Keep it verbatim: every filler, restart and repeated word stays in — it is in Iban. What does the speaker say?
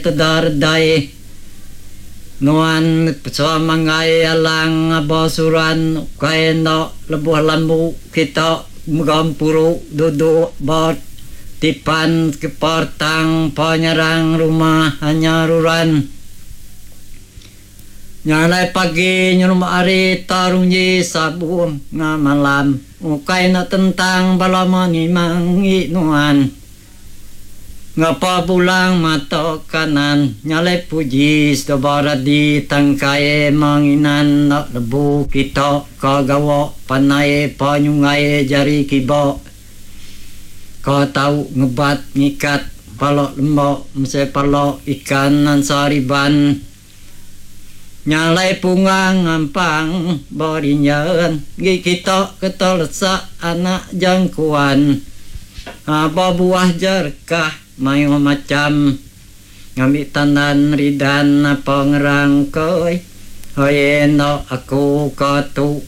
Teda redai nuan semanggai alang aba suran ukai enda lebuh lambu kita begempuru duduk ba tipan kepartang penyerang rumah hanya ruran. Nyalai pagi nyelumba hari tarunji sabung ngamalam ukai enda tentang bala menimang nuan. Ngapa bulang mata kanan nyalai puji sebaradi tangkai menginan nak lebu kita ka gawa panai panyungai jari kiba. Ka tau ngebat ngikat palok lembok mese palok ikan nan sariban. Nyalai pungang ngampang borinyan gi kita ketelesak anak jangkuan. Apa buah jerkah mayu macam ngambil tandan ridan apa ngerang koi. Hoi no aku katu